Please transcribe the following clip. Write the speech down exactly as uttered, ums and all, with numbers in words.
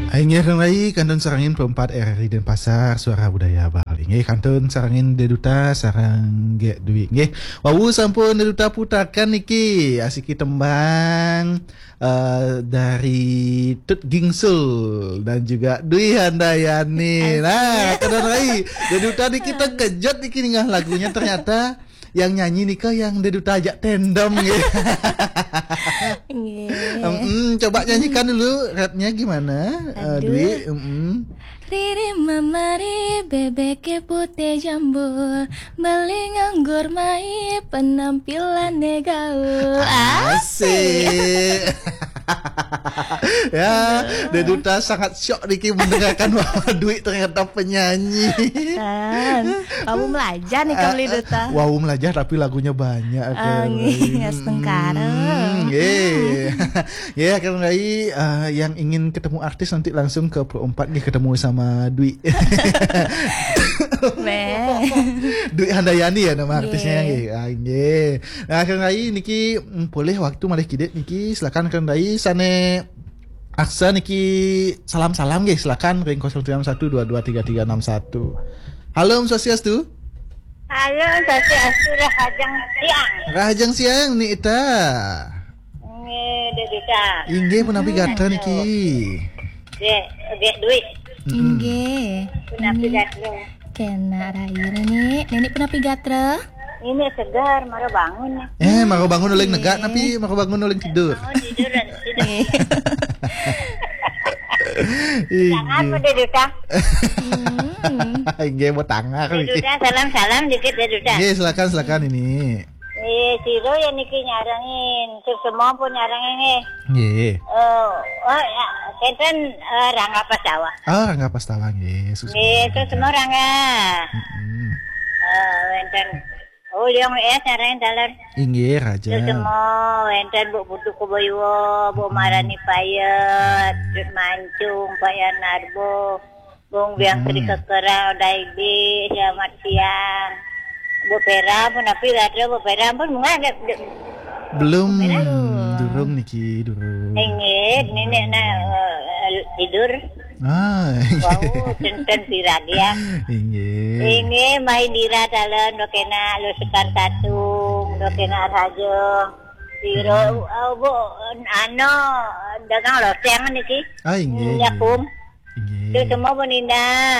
Inggih, Rai, kantun sarengin Pro empat R R I Denpasar, Suara Budaya Bali. Inggih, kantun sarengin Deduta sareng Gek Dwi. Inggih, wau sampun Deduta putarkan niki, asiki tembang eh, dari Tut Gingsul dan juga Dwi Handayani. Nah, kantun Rai, Deduta niki terkejut niki ningeh lagunya, ternyata yang nyanyi nika yang Deduta ajak tandem nggih. Nggih. Em, coba nyanyikan dulu rapnya gimana, eh, Aduh. Dwi? Mm-mm. Riri memari bebek putih jambul, beli nganggur mai penampilan gaul. Asik. Ya, Deduta sangat syok niki mendengarkan bahwa Dwi ternyata penyanyi. Kan, kamu melajah nih, kamu Deduta. Wau melajah tapi lagunya banyak, Ah, nggih, setengkara. Hmm, nggih. Ya, kan Rai, eh, yang ingin ketemu artis nanti langsung ke Pro empat nggih, ketemu sama Dwi. Dwi Handayani ya nama artisnya nggih. Ah, nggih. Nah, kan Rai niki, mm, boleh waktu malih kidik niki, silakan kan Rai sane aksa niki salam-salam nggih, silakan ring kosong tiga enam satu dua dua tiga tiga enam satu. Halo, Om Swastiastu. Halo, Om Swastiastu, rahajeng siang. Rahajeng siang, Ni Ita. Nggih, Deduta. Inggih, punapi gatra niki? Gek, Gek Dwi. Mm-mm. Inggih. Punapi gatra? Kena rayu nini. Nini punapi gatra? Ini segar, mara bangun nih. Eh, mara bangun uling negak, napi mara bangun uling tidur? Bangun tidur dan tidur. Inggih. Tangan apa, Deduta? Inggih, mau tangan. Deduta, salam-salam dikit, Deduta. Nggih, silakan, silakan ini. Eh, sira ya niki nyarengin, terus semua pun nyarengin nggih. Nggih. Eh, oh, ya, kenten, eh, Rangga Pastawa. Ah, Rangga Pastawa nggih. Nggih, terus semua Rangga. Mm-mm. Eh, wenten. Oh, Liong S nyarengin taler. Inggih, Raja. Terus semua wenten Bu Putu Kuboyuwo, Bu Marani Payet, terus Mancung, Pak Yanarbo. Bung Biang Sri Kekerang, Daibi, selamat siang. Bu Pera pun, tapi ada Bu Pera pun, bunga ada, ada. Belum, Bu Pera? Durung niki, durung. Inggih, nenek nak, eh, tidur. Ah, wau, tenten piragi ya. Inggih. Inggih, mai dira talon, dok enak, lu Sekar Tatung, dok enak raja. Siro, oh, Bu, ano, dagang loseng niki. Ah, inggih. Nyakum. Inggih. Itu semua pun indah.